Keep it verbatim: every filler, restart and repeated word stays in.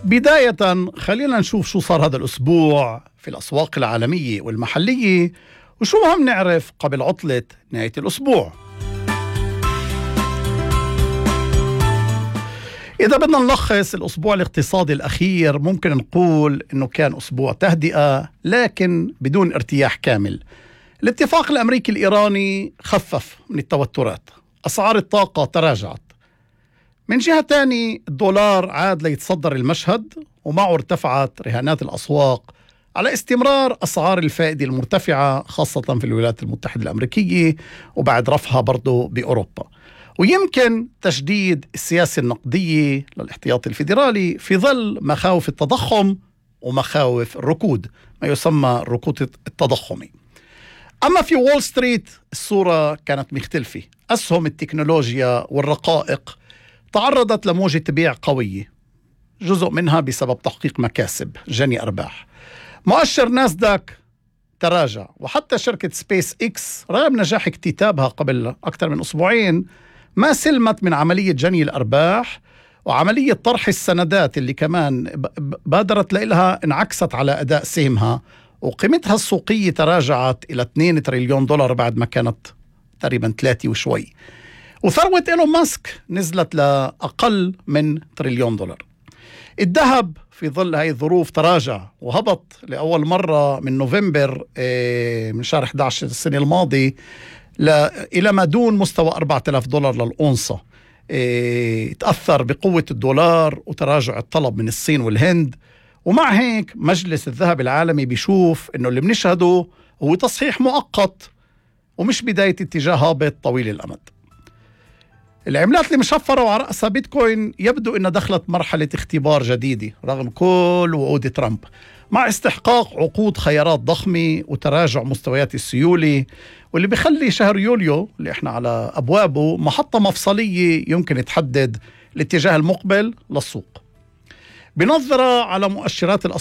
بداية خلينا نشوف شو صار هذا الأسبوع في الأسواق العالمية والمحلية وشو مهم نعرف قبل عطلة نهاية الأسبوع. إذا بدنا نلخص الأسبوع الاقتصادي الأخير ممكن نقول إنه كان أسبوع تهدئة لكن بدون ارتياح كامل. الاتفاق الأمريكي الإيراني خفف من التوترات، أسعار الطاقة تراجعت. من جهة تاني الدولار عاد ليتصدر المشهد ومعه ارتفعت رهانات الأسواق على استمرار أسعار الفائدة المرتفعة خاصة في الولايات المتحدة الأمريكية وبعد رفعها برضو بأوروبا، ويمكن تشديد السياسة النقدية للاحتياط الفيدرالي في ظل مخاوف التضخم ومخاوف الركود، ما يسمى الركود التضخمي. أما في وول ستريت الصورة كانت مختلفة. أسهم التكنولوجيا والرقائق تعرضت لموجة بيع قوية، جزء منها بسبب تحقيق مكاسب جني أرباح. مؤشر ناسداك تراجع، وحتى شركة سبيس إكس رغم نجاح اكتتابها قبل أكثر من أسبوعين ما سلمت من عملية جني الأرباح، وعملية طرح السندات اللي كمان بادرت لها انعكست على أداء سهمها، وقيمتها السوقية تراجعت إلى اثنين تريليون دولار بعد ما كانت تقريبا ثلاثة وشوي. وثروة إيلون ماسك نزلت لأقل من تريليون دولار. الذهب في ظل هاي الظروف تراجع وهبط لأول مرة من نوفمبر من شهر إحدى عشر السنة الماضي إلى ما دون مستوى أربعة آلاف دولار للأونصة. تأثر بقوة الدولار وتراجع الطلب من الصين والهند، ومع هيك مجلس الذهب العالمي بيشوف إنه اللي بنشهده هو تصحيح مؤقت ومش بداية اتجاه هابط طويل الأمد. العملات المشفرة وعلى رأسها بيتكوين يبدو أنها دخلت مرحلة اختبار جديدة رغم كل وعود ترامب، مع استحقاق عقود خيارات ضخمة وتراجع مستويات السيولة، واللي بيخلي شهر يوليو اللي احنا على أبوابه محطة مفصلية يمكن تحدد الاتجاه المقبل للسوق. بنظرة على مؤشرات الأسواق